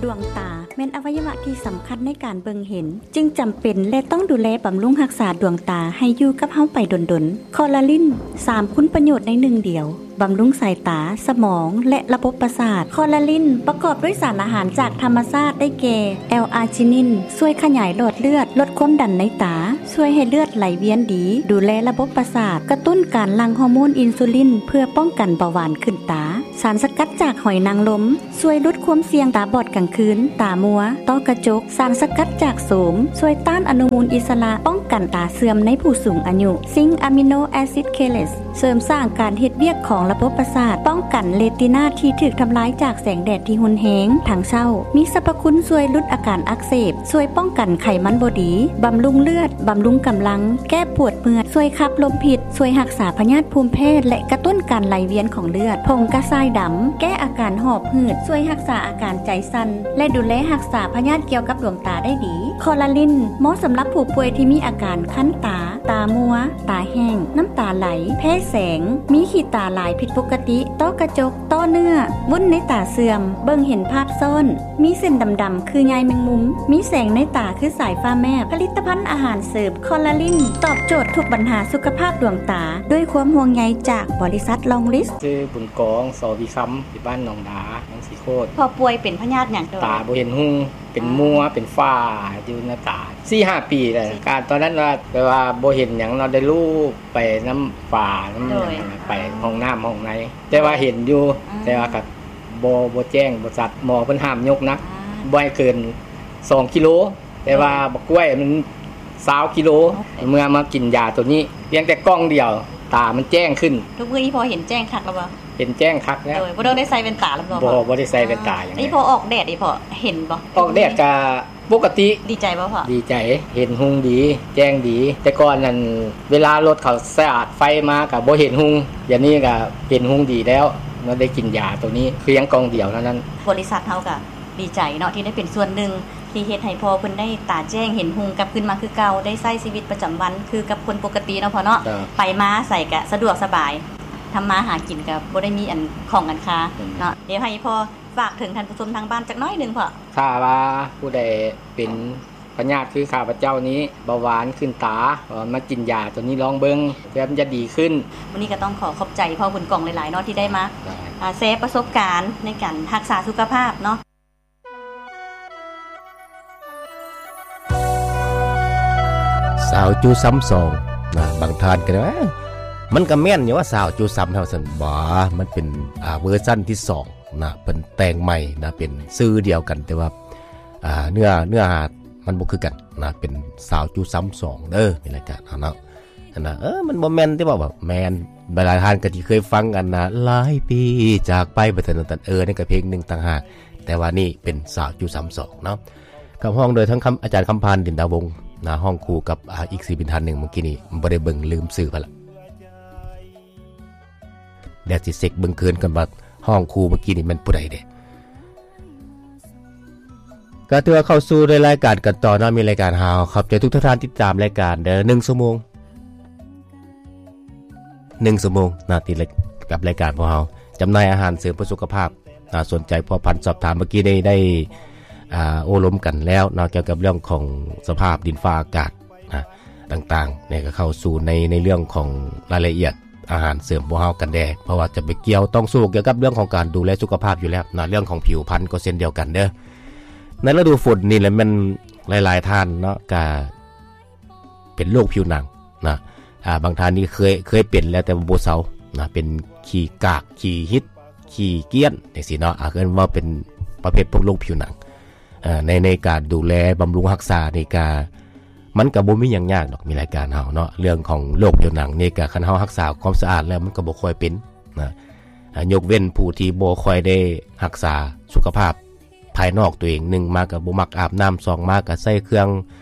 ດວງຕາແມ່ນອະໄວຍະວະທີ່ສຳຄັນໃນການເບິ່ງເຫັນ, ຈຶ່ງຈຳເປັນ ແລະ ຕ້ອງດູແລບຳລຸງຮັກສາດວງຕາໃຫ້ຢູ່ກັບເຮົາໄປດົນໆ. ຄໍລາລິນ ສາມຄຸນປະໂຫຍດໃນໜຶ່ງດຽວ, ບຳລຸງສາຍຕາ, ສະໝອງ ແລະ ລະບົບປະສາດ. ຄໍລາລິນປະກອບດ້ວຍສານອາຫານຈາກທຳມະຊາດ ໄດ້ແກ່ ແອລອາຈິນິນ ຊ່ວຍຂະຫຍາຍຫຼອດເລືອດ, ລົດຄວາມດັນໃນຕາ, ຊ່ວຍໃຫ້ເລືອດໄຫຼວຽນດີ, ດູແລລະບົບປະສາດ, ກະຕຸ້ນການຫຼັ່ງຮໍໂມນອິນຊູລິນ ເພື່ອປ້ອງກັນເບົາຫວານຂຶ້ນຕາ. ສານສະກັດຈາກຫອຍນາງລົມ ຊ່ວຍຫຼຸດຄວາມສ່ຽງຕາບອດກາງຄືນ, ຕາມົວ, ຕ້ອກະຈົກ. ສານສະກັດຈາກໂສມ ຊ່ວຍຕ້ານອະນຸມູນອິດສະຫຼະ, ປ້ອງກັນຕາເສື່ອມໃນຜູ້ສູງອາຍຸ. ຊິງອາມິໂນແອຊິດເຄເລດ ເສີມສ້າງການເຮັດວຽກຂອງລະບົບປະສາດ, ປ້ອງກັນເຣຕິນາທີ່ຖືກທຳລາຍຈາກແສງແດດທີ່ຮຸນແຮງທັງເຊົ້າ. ມີສັບພະຄຸນຊ່ວຍຫຼຸດອາການອັກເສບ, ຊ່ວຍປ້ອງກັນໄຂມັນບໍ່ດີ, ບຳລຸງເລືອດ, ບຳລຸງກຳລັງ, ແກ້ປວດເມື່ອຍ, ຊ່ວຍຂັບລົມພິດ, ຊ່ວຍຮັກສາພະຍາດພູມແພ້ ແລະ ກະຕຸ້ນການໄຫຼວຽນຂອງເລືອດ. ຜົງກະຊາຍດຳ ແກ້ອາການຫອບ ຫືດ, ຊ່ວຍຮັກສາອາການໃຈສັ່ນ ແລະ ດູແລຮັກສາພະຍາດກ່ຽວກັບດວງຕາໄດ້ດີ. ຄໍລາລິນ ເໝາະສຳລັບຜູ້ປ່ວຍທີ່ມີອາການຄັນຕາ, ຕາມົວ, ຕາແຫ້ງ, ນ້ຳຕາໄຫຼ, ແພ້ແສງ, ມີຂີ້ຕາຫຼາຍຜິດປົກກະຕິ, ຕ້ອກະຈົກ, ຕ້ອເນື້ອ, ວຸ້ນໃນຕາເສື່ອມ, ເບິ່ງເຫັນພາບຊ້ອນ, ມີເສັ້ນດຳໆຄືໃຍແມງມຸມ, ມີແສງໃນຕາຄືສາຍຟ້າແມບ. ຜະລິດຕະພັນອາຫານເສີມຄໍລາລິນ ຕອບໂຈດທຸກບັນຫາສຸຂະພາບດວງຕາ ດ້ວຍຄວາມຫ່ວງໃຍຈາກບໍລິສັດລອງລິສ. ຊື່ບຸນກອງ ສໍວິຄຳ ຢູ່ບ້ານໜອງດາ ເມືອງສີໂຄດ. ພໍ່ປ່ວຍເປັນພະຍາດຫຍັງ? ຕາບໍ່ເຫັນຮຸ່ງ ເປັນມົວ ເປັນຝ້າຢູ່ໃນຕາ ສີ່ຫ້າປີແລ້ວ. ການຕອນນັ້ນວ່າ ແບບວ່າບໍ່ເຫັນຫຍັງເນາະ ໄດ້ລູບໄປນຳຝ້ານຳຫຍັງ ໄປຫ້ອງນ້ຳຫ້ອງໃນ ແຕ່ວ່າເຫັນຢູ່ ແຕ່ວ່າກໍບໍ່ ບໍ່ແຈ້ງ ບໍ່ຊັດ. ໝໍເພິ່ນຫ້າມຍົກໜັກ ບໍ່ໃຫ້ເກີນສອງກິໂລ. ແຕ່ວ່າບັກກ້ວຍມັນຊາວກິໂລ ເມື່ອມາກິນຢາໂຕນີ້ ພຽງແຕ່ກ່ອງດຽວ ຕາມັນແຈ້ງຂຶ້ນ. ທຸກມື້ນີ້ພໍ່ເຫັນແຈ້ງຄັກແລ້ວບໍ່? ເຫັນແຈ້ງຄັກແລ້ວ. ໂດຍ ບໍ່ຕ້ອງໄດ້ໃສ່ແວ່ນຕາແລ້ວບໍ່? ບໍ່ ບໍ່ໄດ້ໃສ່ແວ່ນຕາຫຍັງ. ນີ້ພໍ່ອອກແດດນີ້ພໍ່ເຫັນບໍ່? ອອກແດດກະປົກກະຕິ. ດີໃຈບໍ່ພໍ່? ດີໃຈ ເຫັນຮຸ່ງດີ ແຈ້ງດີ. ແຕ່ກ່ອນນັ້ນ ເວລາລົດເຂົາສະຕາດໄຟມາກະບໍ່ເຫັນຮຸ່ງ ດຽວນີ້ກະເຫັນຮຸ່ງດີແລ້ວ ເມື່ອໄດ້ກິນຢາໂຕນີ້ ພຽງກ່ອງດຽວເທົ່ານັ້ນ. ບໍລິສັດເຮົາກະ ດີໃຈເນາະ ທີ່ໄດ້ເປັນສ່ວນໜຶ່ງທີ່ເຮັດໃຫ້ພໍ່ເພິ່ນໄດ້ຕາແຈ້ງເຫັນຮຸ່ງກັບຄືນມາຄືເກົ່າ ໄດ້ໃຊ້ຊີວິດປະຈຳວັນຄືກັບຄົນປົກກະຕິເນາະພໍ່ເນາະ. ໄປມາໃສກະສະດວກສະບາຍ ທຳມາຫາກິນກະບໍ່ໄດ້ມີອັນຂ້ອງອັນຄາເນາະ. ດຽວໃຫ້ພໍ່ຝາກເຖິງທ່ານຜູ້ຊົມທາງບ້ານຈັກໜ້ອຍໜຶ່ງພໍ່. ຖ້າວ່າຜູ້ໃດເປັນພະຍາດຄືຂ້າພະເຈົ້ານີ້ ເບົາຫວານຂຶ້ນຕາ ກໍມາກິນຢາໂຕນີ້ລອງເບິ່ງ ເພື່ອມັນຈະດີຂຶ້ນ. ມື້ນີ້ກໍຕ້ອງຂໍຂອບໃຈພໍ່ບຸນກອງຫຼາຍໆເນາະ ທີ່ໄດ້ມາ ອ່າ ແຊປະສົບການໃນການຮັກສາສຸຂະພາບເນາະ. ສາວຈູຊຳສອງນະ ບາງທ່ານກໍວ່າ ເອີ ມັນກໍແມ່ນຢູ່ວ່າສາວຈູຊຳເຮົາຊັ້ນ. ບໍ່ ມັນເປັນ ອ່າ ເວີຊັນທີສອງນະ ເພິ່ນແຕ່ງໃໝ່ນະ ເປັນຊື່ດຽວກັນ ແຕ່ວ່າ ອ່າ ເນື້ອ ເນື້ອຫາມັນບໍ່ຄືກັນນະ ເປັນສາວຈູຊຳສອງເດີ ໃນລາຍການເຮົາເນາະ. ຫັ້ນນະ ເອີ ມັນບໍ່ແມ່ນຕິ ເວົ້າແບບແມ່ນ. ຫຼາຍໆທ່ານກໍຊິເຄີຍຟັງອັນນະ ຫຼາຍປີຈາກໄປ ແບບນັ້ນ ເອີ ນັ້ນກໍເພງໜຶ່ງຕ່າງຫາກ ແຕ່ວ່ານີ້ເປັນສາວຈູຊຳສອງເນາະ ຂັບຮ້ອງໂດຍທັງຄຳ ອາຈານຄຳພັນ ດິນດາວົງນະ ຮ້ອງຄູ່ກັບ ອ່າ ອີກສິລປິນທ່ານໜຶ່ງ ມື້ກີ້ນີ້ບໍ່ໄດ້ເບິ່ງ ລືມຊື່ໄປລະ. ດຽວຊິເຊັກເບິ່ງຄືນກ່ອນວ່າຮ້ອງຄູ່ມື້ກີ້ນີ້ແມ່ນຜູ້ໃດເດ. ກໍຖືວ່າເຂົ້າສູ່ໃນລາຍການກັນຕໍ່ເນາະ ມີລາຍການເຮົາ. ຂອບໃຈທຸກໆທ່ານຕິດຕາມລາຍການເດີ ໜຶ່ງຊົ່ວໂມງ ໜຶ່ງຊົ່ວໂມງເນາະ ຕິດກັບລາຍການພວກເຮົາ ຈຳໜ່າຍອາຫານເສີມເພື່ອສຸຂະພາບ. ອ່າ ສົນໃຈພົວພັນສອບຖາມ ເມື່ອກີ້ໄດ້ ໄດ້ ອ່າ ໂອ້ລົມກັນແລ້ວເນາະ ກ່ຽວກັບເລື່ອງຂອງສະພາບດິນຟ້າອາກາດນະ ຕ່າງໆ ນີ້ກໍເຂົ້າສູ່ໃນ ໃນເລື່ອງຂອງລາຍລະອຽດອາຫານເສີມພວກເຮົາກັນແດ່ ເພາະວ່າຈະໄປກ່ຽວຕ້ອງສູ້ກ່ຽວກັບເລື່ອງຂອງການດູແລສຸຂະພາບຢູ່ແລ້ວນະ. ເລື່ອງຂອງຜິວພັນກໍເຊັ່ນດຽວກັນເດີ ໃນລະດູຝົນນີ້ແຫຼະ ແມ່ນຫຼາຍໆທ່ານເນາະ ກະ ເປັນໂລກຜິວໜັງນະ. ອ່າ ບາງທ່ານນີ້ເຄີຍ ເຄີຍເປັນແລ້ວ ແຕ່ວ່າບໍ່ເຊົານະ ເປັນຂີ້ກາກ ຂີ້ຫິດ ຂີ້ກ້ຽນ ຈັ່ງຊີ້ເນາະ. ອ່າ ເອີ້ນວ່າເປັນປະເພດພວກໂລກຜິວໜັງ. ເອີ ໃນ ໃນການດູແລບຳລຸງຮັກສານີ້ກະ ມັນກະບໍ່ມີຫຍັງຍາກດອກ ມີລາຍການເຮົາເນາະ. ເລື່ອງຂອງໂລກຜິວໜັງນີ້ກະ ຄັນເຮົາຮັກສາຄວາມສະອາດແລ້ວ ມັນກະບໍ່ຄ່ອຍເປັນນະ. ອ່າ ຍົກເວັ້ນຜູ້ທີ່ບໍ່ຄ່ອຍໄດ້ຮັກສາສຸຂະພາບ ພາຍນອກຕົວເອງ ໜຶ່ງມາກໍບໍ່ມັກອາບນ້ຳ ສອງມາກໍໃຊ້ເຄື່ອງ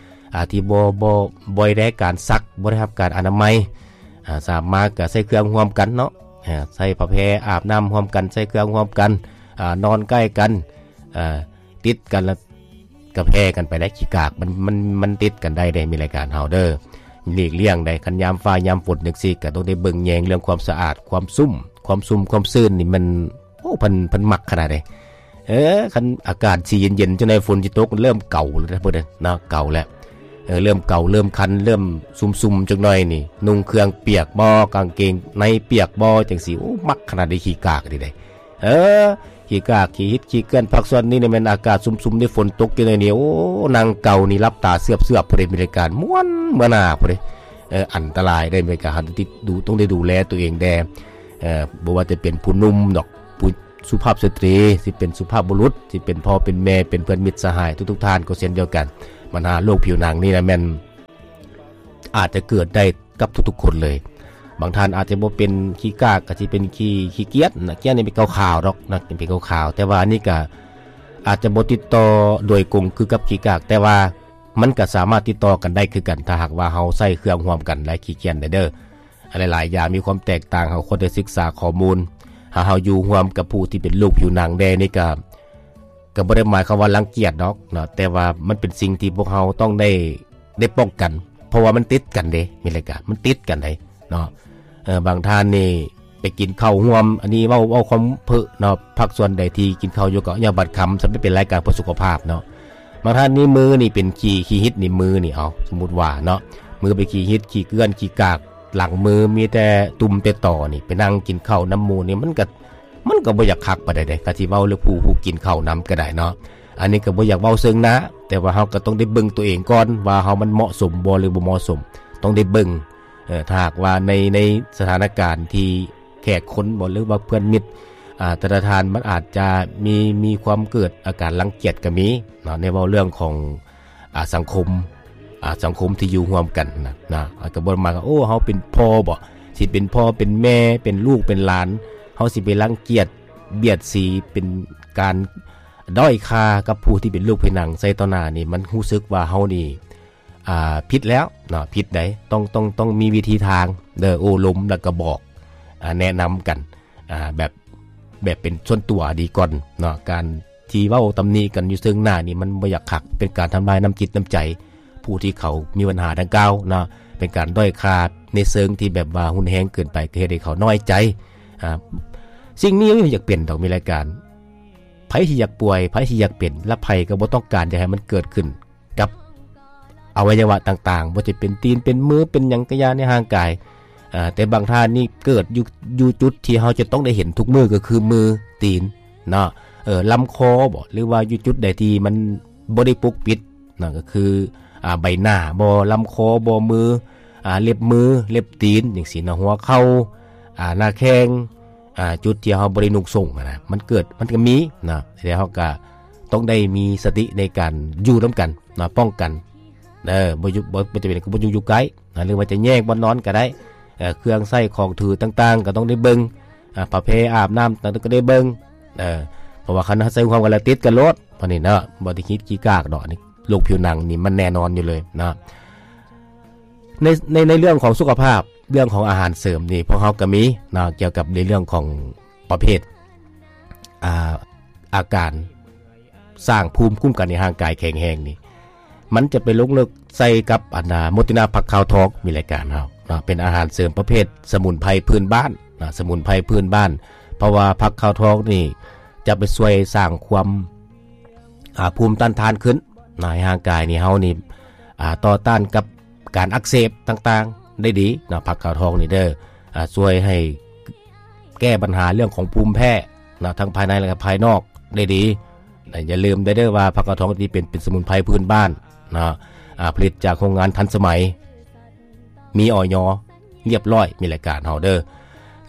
ອ່າ ທີ່ບໍ່ ບໍ່ ບໍ່ໄດ້ການຊັກ ບໍ່ໄດ້ຮັບການອະນາໄມ ອ່າ ສາມມາກໍໃຊ້ເຄື່ອງຮ່ວມກັນເນາະ ອ່າ ໃຊ້ຜ້າແພອາບນ້ຳຮ່ວມກັນ ໃຊ້ເຄື່ອງຮ່ວມກັນ ອ່າ ນອນໃກ້ກັນ ອ່າ ຕິດກັນ ແລ້ວກໍແຜ່ກັນໄປໄດ້. ຂີ້ກາກມັນ ມັນ ມັນຕິດກັນໄດ້ເດ້ ມີລາຍການເຮົາເດີ. ຫຼີກລ່ຽງໄດ້ ຄັນຍາມຟ້າຍາມຝົນຈັ່ງຊີ້ ກໍຕ້ອງໄດ້ເບິ່ງແຍງເລື່ອງຄວາມສະອາດ ຄວາມຊຸ່ມ ຄວາມຊຸ່ມຄວາມຊື່ນນີ້ມັນ ໂອ້ ເພິ່ນ ເພິ່ນມັກຂະໜາດໃດ. ເອີ ຄັນອາກາດຊິເຢັນໆ ຈັ່ງໃດຝົນຊິຕົກ ເລີ່ມເກົາແລ້ວເດ້ ເພິ່ນເນາະ ເກົາແລ້ວ ເອີ ເລີ່ມເກົາ ເລີ່ມຄັນ ເລີ່ມຊຸ່ມໆ ຈັກໜ່ອຍນີ້ ນຸ່ງເຄື່ອງປຽກບໍ່ ກາງເກງໃນປຽກບໍ່ ຈັ່ງຊີ້. ໂອ້ ມັກຂະໜາດໃດ ຂີ້ກາກນີ້ເດ້ ເອີ ຂີ້ກາກ ຂີ້ຫິດ ຂີ້ເກື້ອນ. ພາກສ່ວນນີ້ນີ້ແມ່ນອາກາດຊຸ່ມໆ ນີ້ ຝົນຕົກຢູ່ໃນນີ້ ໂອ້ ນັ່ງເກົານີ້ ຫຼັບຕາເຊືອບໆ ພຸ້ນເດ້ ມີລາຍການມ່ວນເມືອໜ້າພຸ້ນເດ້. ເອີ ອັນຕະລາຍເດ້ ມີລາຍການ ເຮົາຕ້ອງໄດ້ດູ ຕ້ອງໄດ້ດູແລຕົວເອງແດ່ ເອີ ບໍ່ວ່າຈະເປັນຜູ້ໜຸ່ມດອກ ຜູ້ສຸພາບສະຕີ ຊິເປັນສຸພາບບຸລຸດ ຊິເປັນພໍ່ເປັນແມ່ ເປັນເພື່ອນມິດສະຫາຍ ທຸກໆທ່ານກໍເຊັ່ນດຽວກັນ. ບັນຫາໂລກຜິວໜັງນີ້ນະ ແມ່ນອາດຈະເກີດໄດ້ກັບທຸກໆຄົນເລີຍ. ບາງທ່ານອາດຈະບໍ່ເປັນຂີ້ກາກ ກໍຊິເປັນຂີ້ ຂີ້ກຽດນະ ກຽດນີ້ເປັນຂາວໆດອກນະ ເປັນຂາວໆ ແຕ່ວ່າອັນນີ້ກໍອາດຈະບໍ່ຕິດຕໍ່ໂດຍກົງຄືກັບຂີ້ກາກ ແຕ່ວ່າມັນກໍສາມາດຕິດຕໍ່ກັນໄດ້ຄືກັນ ຖ້າຫາກວ່າເຮົາໃຊ້ເຄື່ອງຮ່ວມກັນ ແລະ ຂີ້ກຽດໄດ້ເດີ້. ຫຼາຍໆຢ່າງມີຄວາມແຕກຕ່າງ ເຮົາຄວນໄດ້ສຶກສາຂໍ້ມູນ. ຖ້າເຮົາຢູ່ຮ່ວມກັບຜູ້ທີ່ເປັນໂລກຜິວໜັງແດ່ນີ້ກໍ ກໍບໍ່ໄດ້ໝາຍຄວາມວ່າລັງກຽດດອກເນາະ ແຕ່ວ່າມັນເປັນສິ່ງທີ່ພວກເຮົາຕ້ອງໄດ້ ໄດ້ປ້ອງກັນ ເພາະວ່າມັນຕິດກັນເດ້ ມີລາຍການ ມັນຕິດກັນເດ້ເນາະ. ເອີ ບາງທ່ານນີ້ໄປກິນເຂົ້າຮ່ວມ ອັນນີ້ເວົ້າ ເວົ້າຄວາມເພີ້ເນາະ ພາກສ່ວນໃດທີ່ກິນເຂົ້າຢູ່ກໍຢ່າບັດຄຳ ສຳລັບເປັນລາຍການເພື່ອສຸຂະພາບເນາະ. ບາງທ່ານນີ້ມືນີ້ເປັນຂີ້ ຂີ້ຫິດນີ້ ມືນີ້ ເອົາ ສົມມຸດວ່າເນາະ ມືໄປຂີ້ຫິດ ຂີ້ເກື້ອນ ຂີ້ກາກ ຫຼັງມືມີແຕ່ຕຸ່ມແຕ່ຕໍນີ້ ໄປນັ່ງກິນເຂົ້ານຳໝູ່ນີ້ ມັນກໍ ມັນກໍບໍ່ຢາກຄັກປານໃດເດ້ ຄັນຊິເວົ້າເລື່ອງຜູ້ ຜູ້ກິນເຂົ້ານຳກໍໄດ້ເນາະ. ອັນນີ້ກໍບໍ່ຢາກເວົ້າເຊິ່ງໜ້າ ແຕ່ວ່າເຮົາກໍຕ້ອງໄດ້ເບິ່ງຕົວເອງກ່ອນວ່າເຮົາມັນເໝາະສົມບໍ່ ຫຼື ບໍ່ເໝາະສົມ ຕ້ອງໄດ້ເບິ່ງ. ເອີ ຖ້າຫາກວ່າໃນ ໃນສະຖານະການທີ່ແຂກຄົນບໍ ຫຼືວ່າເພື່ອນມິດ ອ່າ ແຕ່ລະທ່ານ ມັນອາດຈະມີ ມີຄວາມເກີດອາການລັງກຽດກໍມີເນາະ ໃນເວົ້າເລື່ອງຂອງ ອ່າ ສັງຄົມ ອ່າ ສັງຄົມທີ່ຢູ່ຮ່ວມກັນນະ ນະ ກໍບໍ່ມາ ໂອ້ ເຮົາເປັນພໍ່ບໍ ຊິເປັນພໍ່ເປັນແມ່ ເປັນລູກເປັນຫຼານ ເຮົາຊິໄປລັງກຽດບຽດສີ ເປັນການດ້ອຍຄ່າກັບຜູ້ທີ່ເປັນລູກຜິວໜັງໃສ່ຕໍ່ໜ້ານີ້ ມັນຮູ້ສຶກວ່າເຮົານີ້ ອ່າ ຜິດແລ້ວເນາະ ຜິດໃດ໋ ຕ້ອງ ຕ້ອງ ຕ້ອງມີວິທີທາງເດີ ໂອ້ລົມ ແລ້ວກໍບອກ ອ່າ ແນະນຳກັນ ອ່າ ແບບ ແບບເປັນສ່ວນຕົວດີກ່ອນເນາະ. ການທີ່ເວົ້າຕຳໜິກັນຢູ່ເຊິ່ງໜ້ານີ້ ມັນບໍ່ຢາກຄັກ ເປັນການທຳລາຍນ້ຳຈິດນ້ຳໃຈຜູ້ທີ່ເຂົາມີບັນຫາດັ່ງກ່າວເນາະ ເປັນການດ້ອຍຄ່າໃນເຊີງທີ່ແບບວ່າຮຸນແຮງເກີນໄປ ກໍເຮັດໃຫ້ເຂົານ້ອຍໃຈ. ອ່າ ສິ່ງນີ້ບໍ່ຢາກເປັນດອກ ມີລາຍການ ໃຜທີ່ຢາກປ່ວຍ ໃຜທີ່ຢາກເປັນ ແລະ ໃຜກໍບໍ່ຕ້ອງການຢາກໃຫ້ມັນເກີດຂຶ້ນ ກັບອະໄວຍະວະຕ່າງໆ ບໍ່ວ່າຈະເປັນຕີນ ເປັນມື ເປັນຫຍັງກະຢ່າໃນຮ່າງກາຍ. ເອີ ແຕ່ບາງທ່ານນີ້ເກີດຢູ່ ຢູ່ຈຸດທີ່ເຮົາຈະຕ້ອງໄດ້ເຫັນທຸກມື້ ກໍຄືມື ຕີນເນາະ ເອີ ລຳຄໍບໍ ຫຼືວ່າຢູ່ຈຸດໃດທີ່ມັນບໍ່ໄດ້ປົກປິດເນາະ ກໍຄື ອ່າ ໃບໜ້າບໍ ລຳຄໍບໍ ມື ອ່າ ເລັບມື ເລັບຕີນ ຈັ່ງຊີ້ເນາະ ຫົວເຂົ່າ ອ່າ ໜ້າແຂ້ງ ອ່າ ຈຸດທີ່ເຮົາບໍ່ໄດ້ນຸ່ງສົ້ງຫັ້ນນະ ມັນເກີດ ມັນກໍມີເນາະ ແຕ່ເຮົາກໍຕ້ອງໄດ້ມີສະຕິໃນການຢູ່ນຳກັນເນາະ ປ້ອງກັນເດີ ບໍ່ຢູ່ ບໍ່ ບໍ່ຈຳເປັນກໍບໍ່ຢູ່ ຢູ່ໃກ້ນະ ຫຼືວ່າຈະແຍກບ່ອນນອນກໍໄດ້ ເອີ ເຄື່ອງໃຊ້ຂອງຖືຕ່າງໆ ກໍຕ້ອງໄດ້ເບິ່ງ ອ່າ ຜ້າແພອາບນ້ຳຕ່າງໆ ກໍໄດ້ເບິ່ງ ເອີ ເພາະວ່າຄັນເຮົາໃຊ້ຮ່ວມກັນແລ້ວຕິດກັນໂລດ ອັນນີ້ເນາະ ບໍ່ໄດ້ຄິດຂີ້ກາກດອກ ອັນນີ້ໂລກຜິວໜັງນີ້ມັນແນ່ນອນຢູ່ເລີຍເນາະ. ໃນ ໃນ ໃນເລື່ອງຂອງສຸຂະພາບ ເລື່ອງຂອງອາຫານເສີມນີ້ ພວກເຮົາກໍມີເນາະ ກ່ຽວກັບໃນເລື່ອງຂອງປະເພດ ອ່າ ອາການສ້າງພູມຄຸ້ມກັນໃຫ້ຮ່າງກາຍແຂງແຮງນີ້ ມັນຈະໄປລົງເລິກໃສ່ກັບ ອັນ ອ່າ ໂມຕິນາຜັກຂາວທອງ ມີລາຍການເຮົາເນາະ ເປັນອາຫານເສີມປະເພດສະໝຸນໄພພື້ນບ້ານເນາະ ສະໝຸນໄພພື້ນບ້ານ ເພາະວ່າຜັກຂາວທອງນີ້ຈະໄປຊ່ວຍສ້າງຄວາມ ອ່າ ພູມຕ້ານທານຂຶ້ນນະ ໃຫ້ຮ່າງກາຍນີ້ເຮົານີ້ ອ່າ ຕໍ່ຕ້ານກັບການອັກເສບຕ່າງໆໄດ້ດີເນາະ ຜັກຂາວທອງນີ້ເດີ ອ່າ ຊ່ວຍໃຫ້ແກ້ບັນຫາເລື່ອງຂອງພູມແພ້ເນາະ ທັງພາຍໃນ ແລະ ກໍພາຍນອກໄດ້ດີນະ. ຢ່າລືມໄດ້ເດີວ່າ ຜັກຂາວທອງທີ່ເປັນ ເປັນສະໝຸນໄພພື້ນບ້ານເນາະ ອ່າ ຜະລິດຈາກໂຮງງານທັນສະໄໝ ມີ ອຢ ລຽບຮ້ອຍ ມີລາຍການເຮົາເດີ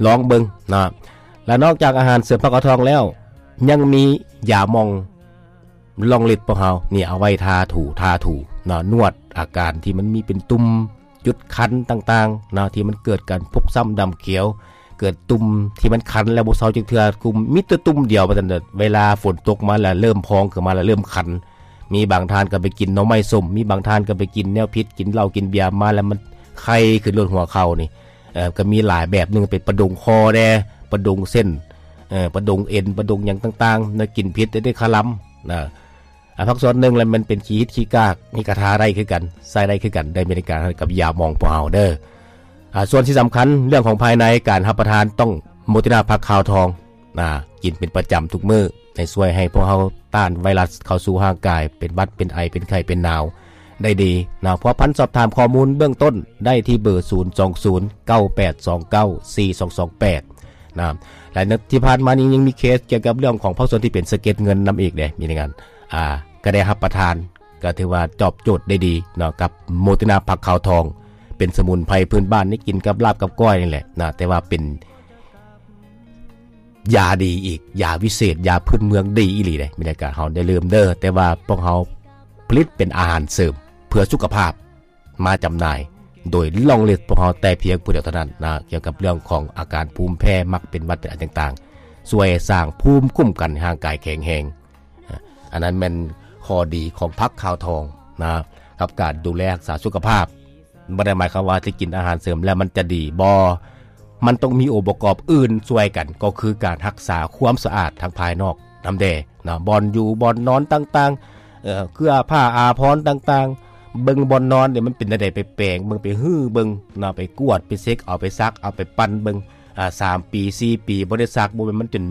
ລອງເບິ່ງເນາະ. ແລະ ນອກຈາກອາຫານເສີມຜັກຂາວທອງແລ້ວ ຍັງມີຢາໝອງລອງລິດພວກເຮົານີ້ ເອົາໄວ້ທາຖູ ທາຖູເນາະ ນວດອາການທີ່ມັນມີເປັນຕຸ່ມ ຈຸດຄັນຕ່າງໆເນາະ ທີ່ມັນເກີດການຟົກຊ້ຳດຳຂຽວ ເກີດຕຸ່ມທີ່ມັນຄັນແລ້ວບໍ່ເຊົາຈັກເທື່ອ ກຸມ ມີແຕ່ຕຸ່ມດຽວວ່າຊັ້ນເດີ. ເວລາຝົນຕົກມາແລ້ວເລີ່ມພອງຂຶ້ນມາແລ້ວເລີ່ມຄັນ ມີບາງທ່ານກໍໄປກິນໜໍ່ໄມ້ສົ້ມ ມີບາງທ່ານກໍໄປກິນແນວຜິດ ກິນເຫຼົ້າກິນເບຍມາແລ້ວມັນໄຄຂຶ້ນໂລດຫົວເຂົ່ານີ້ ເອີ ກໍມີຫຼາຍແບບໜຶ່ງ ເປັນປະດົງຄໍແດ່ ປະດົງເສັ້ນ ເອີ ປະດົງເອັນ ປະດົງຫຍັງຕ່າງໆເນາະ ກິນຜິດໄດ້ຄະລຳນະ. ອ່າ ພາກສ່ວນໜຶ່ງແລ້ວມັນເປັນຂີ້ຫິດຂີ້ກາກ ນີ້ກໍທາໄດ້ຄືກັນ ໃຊ້ໄດ້ຄືກັນ ໄດ້ມີໃນການກັບຢາໝອງພວກເຮົາເດີ. ອ່າ ສ່ວນທີ່ສຳຄັນເລື່ອງຂອງພາຍໃນ ການຮັບປະທານຕ້ອງໂມຕິນາຜັກຂາວທອງ ນະ ກິນເປັນປະຈຳທຸກມື້ ໃຫ້ຊ່ວຍໃຫ້ພວກເຮົາຕ້ານໄວຣັສເຂົ້າສູ່ຮ່າງກາຍ ເປັນຫວັດ ເປັນໄອ ເປັນໄຂ້ ເປັນໜາວໄດ້ດີນະ. ພົວພັນສອບຖາມຂໍ້ມູນເບື້ອງຕົ້ນໄດ້ທີ່ເບີ ສູນສອງສູນ ເກົ້າແປດສອງເກົ້າ ສີ່ສອງສອງແປດ ນະ. ແລະ ທີ່ຜ່ານມານີ້ຍັງມີເຄສກ່ຽວກັບເລື່ອງຂອງພາກສ່ວນທີ່ເປັນສະເກັດເງິນນຳອີກເດ້ ມີລາຍງານ ອ່າ ກໍໄດ້ຮັບປະທານ ກໍຖືວ່າຕອບໂຈດໄດ້ດີເນາະ ກັບໂມຕິນາຜັກຂາວທອງ ເປັນສະໝຸນໄພພື້ນບ້ານ ນີ້ກິນກັບລາບກັບກ້ອຍນີ້ແຫຼະນະ ແຕ່ວ່າເປັນຢາດີອີກ ຢາວິເສດ ຢາພື້ນເມືອງດີອີ່ຫຼີເດ້. ມີລາຍການເຮົາ ຢ່າລືມເດີ ແຕ່ວ່າພວກເຮົາຜະລິດເປັນອາຫານເສີມເພື່ອສຸຂະພາບ ມາຈຳໜ່າຍໂດຍລອງເລັດພວກເຮົາແຕ່ພຽງຜູ້ດຽວເທົ່ານັ້ນນະ ກ່ຽວກັບເລື່ອງຂອງອາການພູມແພ້ ມັກເປັນຫວັດເປັນໄອຕ່າງໆ ຊ່ວຍສ້າງພູມຄຸ້ມກັນໃຫ້ຮ່າງກາຍແຂງແຮງ. ອາ ອັນນັ້ນແມ່ນຂໍ້ດີຂອງຜັກຂາວທອງນະ ກັບການດູແລຮັກສາສຸຂະພາບ. ບໍ່ໄດ້ໝາຍຄວາມວ່າຈະກິນອາຫານເສີມແລ້ວມັນຈະດີ ບໍ່ ມັນຕ້ອງມີອົງປະກອບອື່ນຊ່ວຍກັນ ກໍຄືການຮັກສາຄວາມສະອາດທາງພາຍນອກນຳແດ່ນະ ບ່ອນຢູ່ບ່ອນນອນຕ່າງໆ ເອີ ເຄື່ອຜ້າອາພອນຕ່າງໆ ເບິ່ງບ່ອນນອນນີ້ມັນເປັນແນວໃດ ໄປແປງເບິ່ງ ໄປຮື້ເບິ່ງນະ ໄປກວດ ໄປເຊັກ ເອົາໄປຊັກ ເອົາໄປປັ່ນເບິ່ງ ອາ ສາມປີ ສີ່ປີ ບໍ່ໄດ້ຊັກ ບໍ່ແມ່ນມັນຈົນ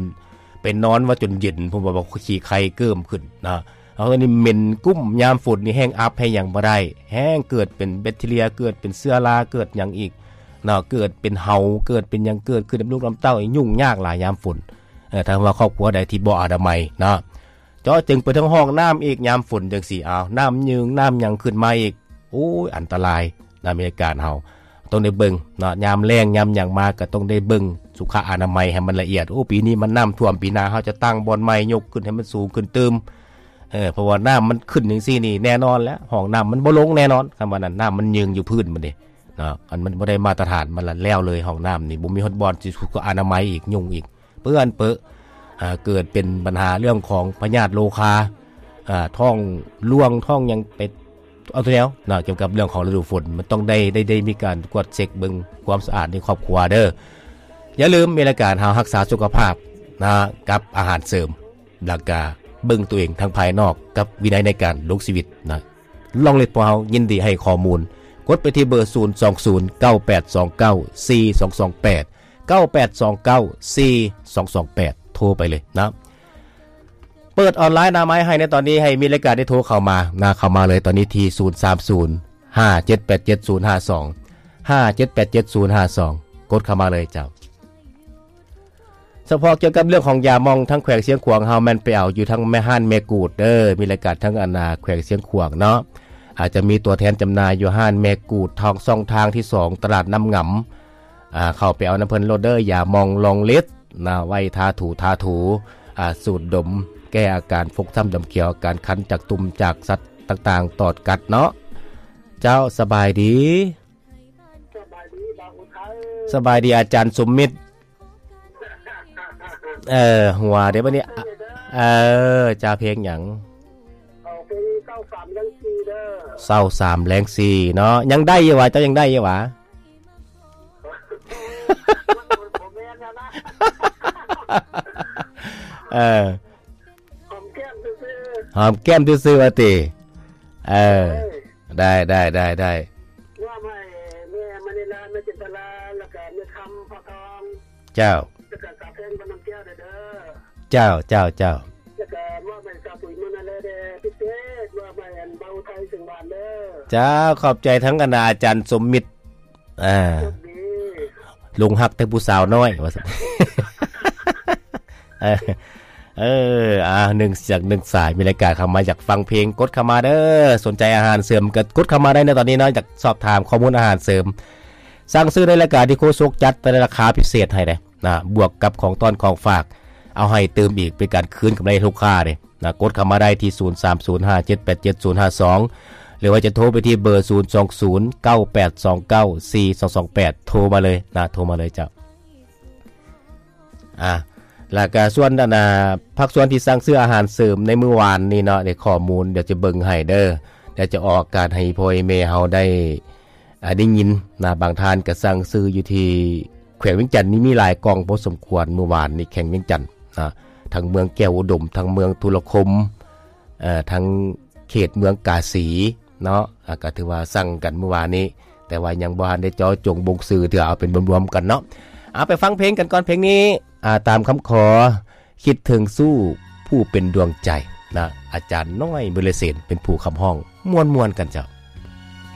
ໄປນອນວ່າຈົນເຢັນ ເພາະວ່າຂີ້ໄຄເກີ້ມຂຶ້ນນະ. ເອົາ ອັນນີ້ເໝັນກຸ້ມ ຍາມຝົນນີ້ແຮ່ງອັບແຮ່ງຫຍັງບໍ່ໄດ້ ແຮ່ງເກີດເປັນແບັກທີເຣຍ ເກີດເປັນເຊື້ອລາ ເກີດຫຍັງອີກເນາະ ເກີດເປັນເຫົ່າ ເກີດເປັນຫຍັງ ເກີດຂຶ້ນນຳລູກນຳເຕົ້າ ຫຍຸ້ງຍາກຫຼາຍຍາມຝົນ. ເອີ ຖ້າວ່າຄອບຄົວໃດທີ່ບໍ່ອະນາໄມເນາະ ເຈາະເຈີງໄປເຖິງຫ້ອງນ້ຳອີກ ຍາມຝົນຈັ່ງຊີ້ ເອົາ ນ້ຳຍືງນ້ຳຫຍັງຂຶ້ນມາອີກ ໂອ້ຍ ອັນຕະລາຍນະ. ມີລາຍການເຮົາຕ້ອງໄດ້ເບິ່ງເນາະ ຍາມແລ້ງຍາມຫຍັງມາກໍຕ້ອງໄດ້ເບິ່ງສຸຂະອະນາໄມໃຫ້ມັນລະອຽດ. ໂອ້ ປີນີ້ມັນນ້ຳຖ້ວມ ປີໜ້າເຮົາຈະຕັ້ງບ່ອນໃໝ່ ຍົກຂຶ້ນໃຫ້ມັນສູງຂຶ້ນຕື່ມ ເອີ ເພາະວ່ານ້ຳມັນຂຶ້ນຈັ່ງຊີ້ນີ້ແນ່ນອນແລ້ວ ຫ້ອງນ້ຳມັນບໍ່ລົງແນ່ນອນ ຄັນວ່ານັ້ນ ນ້ຳມັນຍືງຢູ່ພື້ນມັນເດ້ເນາະ ອັນມັນບໍ່ໄດ້ມາດຕະຖານ ມັນລະແລ້ວເລີຍ. ຫ້ອງນ້ຳນີ້ບໍ່ມີຮອດບ່ອນຊິສຸຂະອະນາໄມອີກ ຫຍຸ້ງອີກ ເປື້ອນເປິ ອ່າ ເກີດເປັນບັນຫາເລື່ອງຂອງພະຍາດໂລຄາ ອ່າ ທ້ອງຫຼວງ ທ້ອງຫຍັງໄປ ເອົາແນວເນາະ ກ່ຽວກັບເລື່ອງຂອງລະດູຝົນ ມັນຕ້ອງໄດ້ ໄດ້ ໄດ້ມີການກວດເຊັກເບິ່ງຄວາມສະອາດໃນຄອບຄົວເດີ. ຢ່າລືມ ມີລາຍການເຮົາຮັກສາສຸຂະພາບນະ ກັບອາຫານເສີມ ແລ້ວກະເບິ່ງຕົວເອງທາງພາຍນອກ ກັບວິໄນໃນການລົງຊີວິດນະ. ລອງເລັດ ພວກເຮົາຍິນດີໃຫ້ຂໍ້ມູນ ກົດໄປທີ່ເບີ ສູນສອງສູນ ເກົ້າແປດສອງເກົ້າ ສີ່ສອງສອງແປດ ເກົ້າແປດສອງເກົ້າ ສີ່ສອງສອງແປດ ໂທໄປເລີຍນະ. ເປີດອອນລາຍໜ້າໄມໃຫ້ໃນຕອນນີ້ ໃຫ້ມີລາຍການໄດ້ໂທເຂົ້າມານະ ເຂົ້າມາເລີຍຕອນນີ້ທີ່ ສູນສາມສູນ ຫ້າເຈັດແປດເຈັດ ສູນຫ້າສອງ ຫ້າເຈັດແປດເຈັດ ສູນຫ້າສອງ ກົດເຂົ້າມາເລີຍເຈົ້າ. ສະເພາະກ່ຽວກັບເລື່ອງຂອງຢາໝອງ ທາງແຂວງຊຽງຂວາງເຮົາແມ່ນໄປເອົາຢູ່ທາງແມ່ຮ້ານແມ່ກູດເດີ ມີລາຍການທາງອັນນາແຂວງຊຽງຂວາງເນາະ ອາດຈະມີຕົວແທນຈຳໜ່າຍຢູ່ຮ້ານແມ່ກູດ ທາງຊ່ອງທາງທີສອງ ຕະຫຼາດນ້ຳງຳ ອ່າ ເຂົ້າໄປເອົານຳເພິ່ນໂລດເດີ ຢາໝອງລອງເລັດນະ ໄວ້ທາຖູ ທາຖູ ອ່າ ສູດດົມ ແກ້ອາການຟົກຊ້ຳດຳຂຽວ ອາການຄັນຈາກຕຸ່ມຈາກສັດຕ່າງໆ ຕອດກັດເນາະ. ເຈົ້າ ສະບາຍດີ ສະບາຍດີ ບ່າວອຸໄທ ສະບາຍດີອາຈານສົມມິດ. ເອີ ຫົວເດ້ບັດນີ້ ເອີ ເຈົ້າ ເພງຫຍັງ? ເອົາເພງເຊົ້າສາມແລງສີ່ເດີ ເຊົ້າສາມແລງສີ່ເນາະ. ຍັງໄດ້ຢູ່ຫວາ? ເຈົ້າຍັງໄດ້ຢູ່ຫວາ? ບໍ່ແມ່ນແລ້ວນະ ເອີ ຫອມແກ້ມຊື່ໆ ຫອມແກ້ມຊື່ໆວ່າຕິ? ເອີ ເອີ ໄດ້ ໄດ້ ໄດ້ ໄດ້ ມອບໃຫ້ແມ່ມະນີລາ ແມ່ຈິນຕະລາ ແລ້ວກະແມ່ຄຳ ພໍ່ທອງ ເຈົ້າ ແລ້ວກະສາວແພງ ບ້ານນ້ຳແກ້ວເດີ ເຈົ້າ ເຈົ້າ ເຈົ້າ ແລ້ວກະມອບໃຫ້ສາວປຸຍ ມະນາແລ ເດີ ພິເສດ ມອບໃຫ້ອັນບ່າວອຸໄທ ເຊງຫວານເດີ ເຈົ້າ ຂອບໃຈທັງອັນນາອາຈານສົມມິດ ອ່າ ໂຊກດີ ຫຼົງຮັກແຕ່ຜູ້ສາວນ້ອຍ ວ່າຊັ້ນ ເອີ ເອີ ອ່າ ໜຶ່ງສາຍ ໜຶ່ງສາຍ ມີລາຍການເຂົ້າມາ ຢາກຟັງເພງ ກົດເຂົ້າມາເດີ. ສົນໃຈອາຫານເສີມກໍກົດເຂົ້າມາໄດ້ໃນຕອນນີ້ເນາະ ຢາກສອບຖາມຂໍ້ມູນອາຫານເສີມ ສັ່ງຊື້ໃນລາຍການທີ່ໂຄສົກຈັດ ແຕ່ລາຄາພິເສດໃຫ້ເດ້ນະ ບວກກັບຂອງຕ້ອນຂອງຝາກ ເອົາໃຫ້ຕື່ມອີກ ເປັນການຄືນກຳໄລໃຫ້ລູກຄ້າເດ້ ນະ ກົດເຂົ້າມາໄດ້ທີ່ ສູນສາມສູນ ຫ້າເຈັດແປດເຈັດ ສູນຫ້າສອງ ຫຼືວ່າຈະໂທໄປທີ່ເບີ ສູນສອງສູນ ເກົ້າແປດສອງເກົ້າ ສີ່ສອງສອງແປດ ໂທມາເລີຍນະ ໂທມາເລີຍເຈົ້າ. ອ່າ ແລ້ວກະສ່ວນອັນນາ ພາກສ່ວນທີ່ສັ່ງຊື້ອາຫານເສີມໃນມື້ວານນີ້ເນາະ ໃນຂໍ້ມູນ ດຽວຈະເບິ່ງໃຫ້ເດີ ດຽວຈະອອກອາກາດໃຫ້ພໍ່ໃຫ້ແມ່ເຮົາໄດ້ ອ່າ ໄດ້ຍິນນະ. ບາງທ່ານກໍສັ່ງຊື້ຢູ່ທີ່ແຂວງວຽງຈັນນີ້ ມີຫຼາຍກ່ອງພໍສົມຄວນ ມື້ວານນີ້ແຂວງວຽງຈັນນະ ທັງເມືອງແກ້ວອຸດົມ ທັງເມືອງທຸລະຄົມ ເອີ ທັງເຂດເມືອງກາສີເນາະ ອ່າ ກໍຖືວ່າສັ່ງກັນມື້ວານນີ້ ແຕ່ວ່າຍັງບໍ່ທັນໄດ້ເຈາະຈົງບົ່ງຊື່ເທື່ອ ເອົາເປັນລວມໆກັນເນາະ. ເອົາໄປຟັງເພງກັນກ່ອນ ເພງນີ້ ອາ ຕາມຄຳຂໍ ຄິດເຖິງຊູ້ຜູ້ເປັນດວງໃຈນະ ອາຈານນ້ອຍ ເບີລະເສນ ເປັນຜູ້ຂັບຮ້ອງ ມ່ວນໆກັນເຈົ້າ.